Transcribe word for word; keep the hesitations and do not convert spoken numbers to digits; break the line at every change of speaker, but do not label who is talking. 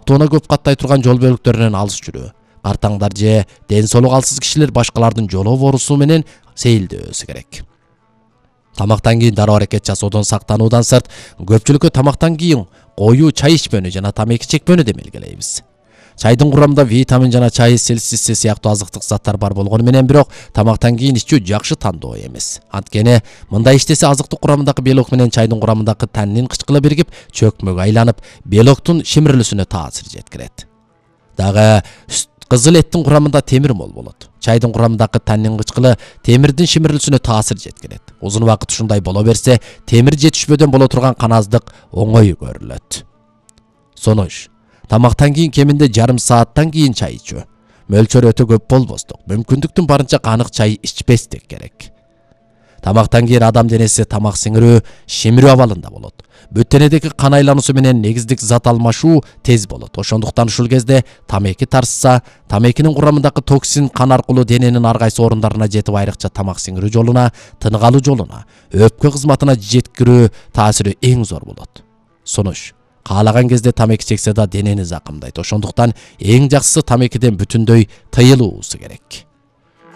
каптоона көп каттай турган жол бөлүктөрүнөн алыс жүрүү, картаңдар же ден соолугу алсыз кишилер башкалардын жолоо борусу менен сейилдебесе керек. Тамактан кийин дароо аракет жасоодон сактануудан сырт, көпчүлүккө тамактан кийин коюу чай ичпөөнү жана тамеки чекпөөнү демелгелейбиз. Чайдын курамында витамин жана чай селсиси сыяктуу азыктык заттар бар болгону менен бирок тамактан кийин ичүү жакшы тандоо эмес. Анткени мындай иштесе азыктык курамындагы белок менен чайдын курамындагы таннин кычкыла биригип, чөкмөгө айланып, белоктун шимирилүүсүнө таасир жеткирет. Дагы кызыл эттин курамында темир мол болот. Чайдын курамындагы таннин кычкылы темирдин шимирилүүсүнө таасир жеткирет. Узун убакыт ушундай боло берсе, темир жетишпөөдөн боло турган каназдык оңой көрүлөт. Сонуш, тамактан кийин кеминде жарым сааттан кийин чай ичүү. Мөлчөрү өтө көп болбостук, мүмкүндүктүн барынча канык чай ичпестик керек. Тамактан кийин адам денеси тамак сиңирүү, шимирүү абалында болот. Бүт денедеги кан айлануусу менен негиздик зат алмашуу тез болот. Ошондуктан ушул кезде тамеки тарсса, тамекинин курамындагы токсин кан аркылуу дененин ар кайсы орундарына жетип, айрыкча тамак сиңирүү жолуна, тынык алуу жолуна, өпкө кызматына жеткирүү таасири эң зор болот. Сонуш, каалаган кезде тамеки чексе да денени закымдайт. Ошондуктан эң жакшысы тамекиден бүтүндөй тыйылуусу керек.